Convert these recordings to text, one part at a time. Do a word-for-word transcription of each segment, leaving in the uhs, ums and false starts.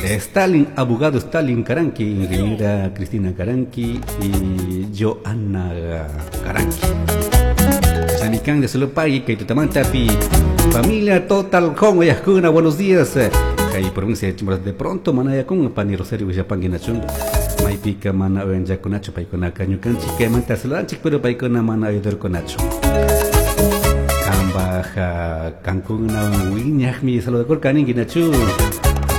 Stalin, abogado Stalin Caranqui, ingeniera Cristina Caranqui y Joanna Caranqui. Sanican de Solopagui, kay tutamantapi, familia Total Home, uyajkuna, buenos días. Kay provincia de Chimborazo, de pronto manayakun, pani Rosario Villapangui nachun, maypika mana uyanchakunachu paykunaka ñukanchik kaymanta saludanchik, pero paykuna mana ayudarkunachu. Kambaj kankuna wiñajmi saludakurkani nachu.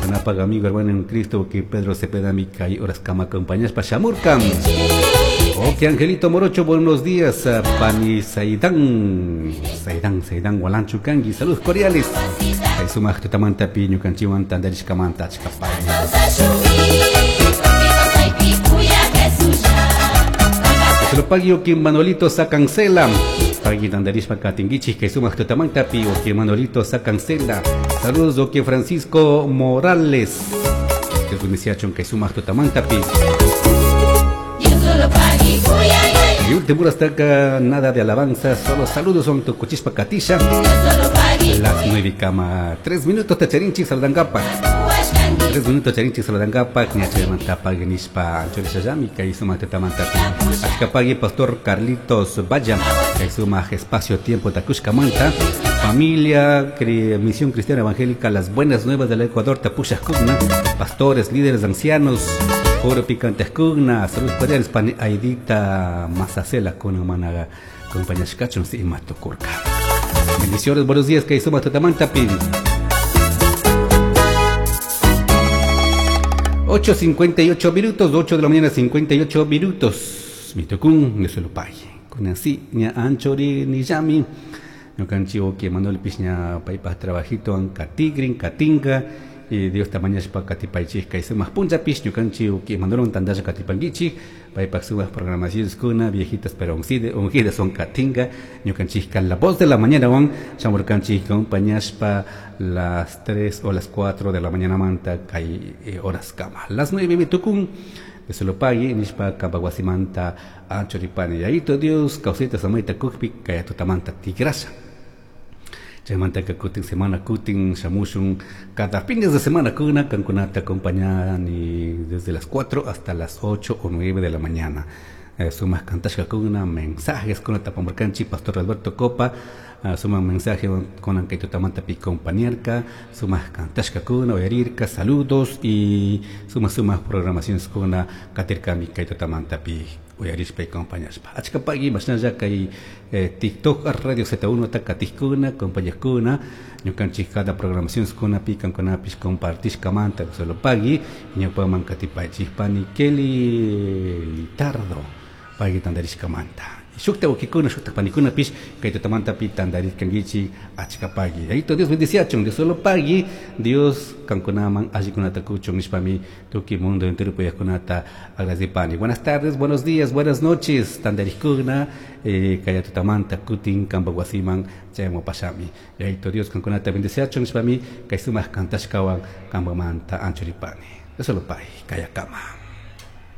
Kanapag amigo hermano en Cristo que Pedro Cepeda mi kay horas kama acompañaspa shamurkan. Ok, Angelito Morocho, buenos días. Pani Saidán, Saidán, Saidán, Walanchu Kangi, saludos cordiales. Kay sumaq tutamantapi ñukanchikwan tantarishkamanta achkapay. Pagui oki Manolito sacancela. Pagui tantarishpa katinkichik kay sumaq tutamantapi oki Manolito sacancela. Saludos oki Francisco Morales. Que kunisiachon kay sumaq tutamantapi. Y último hasta acá, nada de alabanza, solo saludos son tu cuchispa katisha. Las nueve cama tres minutos tacharinchi saludangapa. Tres minutos charinchi saludangapa, ñachamantapa genishpa anchorishayami kay sumaq tutamantapi. Achkapagui Pastor Carlitos Vaya, kay sumaq espacio tiempo takushkamanta. Familia Misión Cristiana Evangélica Las Buenas Nuevas del Ecuador Tapushakuna, pastores, líderes, ancianos, Oro picante kuna, saludos cordiales pani Aidita Mazacela con managa compañía si matukurka. Bendiciones, buenos días, que suma tutamantapi. ocho cincuenta y ocho minutos, ocho de la mañana cincuenta y ocho minutos. Mitokun, Neselupay. Con así, ña anchori ni yami. Ñukanchi oki Manuel Pishña paypaj trabajito an katigrin, katinga. Y Dios tamañashpa katipaychik kay sumaq punchapish ñukanchik uki Manuel tandasha katipankichik paypaj sumaq programaciones kuna viejitas pero ungidas son katinga ñukanchik la voz de la mañana wan shamurkanchik acompañashpa las tres o las cuatro de la mañana manta kay eh, horas kama las nueve mitukun se lo pague nishpa kampawasimanta anchoripani yayito Dios causita samayta kukpi kay tutamanta tigrasha. Chaymanta kutin semana kutin shamushun cada fines de semana kuna kankunata acompañan y desde las cuatro hasta las ocho o nueve de la mañana. Eh, sumas kantashka kuna mensajes kuna tapamurkanchi Pastor Alberto Copa, uh, suman mensaje con ankaytutamanta pi compañerka, sumas kantashka kuna uyarirka saludos y sumas sumas programaciones kuna katirkami kaytutamanta pi uyarishpa y compañashpa. Achkapagui mashnalla kay eh, TikTok Radio Z uno takatikkuna compañaskuna ñukanchik cada programación kuna pi kankunapish compartishkamanta solo pagui ñawpaman katipaychik pani Kelly Litardo pagui tantarishkamanta. Shukta wakikuna, shukta panikuna pish, kay tutamanta pi tantaritkankichik achkapagui. Ayito Dios bendiciachun, Dios solo pagui, Dios kankunaman allikunata kuchun nishpami tuki mundo entero puyajkunata agradecipani. Buenas tardes, buenos días, buenas noches, tantarikkuna, eh, kay tutamanta kutin kampawasiman chayamupashami. Ayito Dios kankunata bendiciachun nishpami kay sumaq kantashkawan kampamanta anchuripani. Dios solo pagui, kayakama.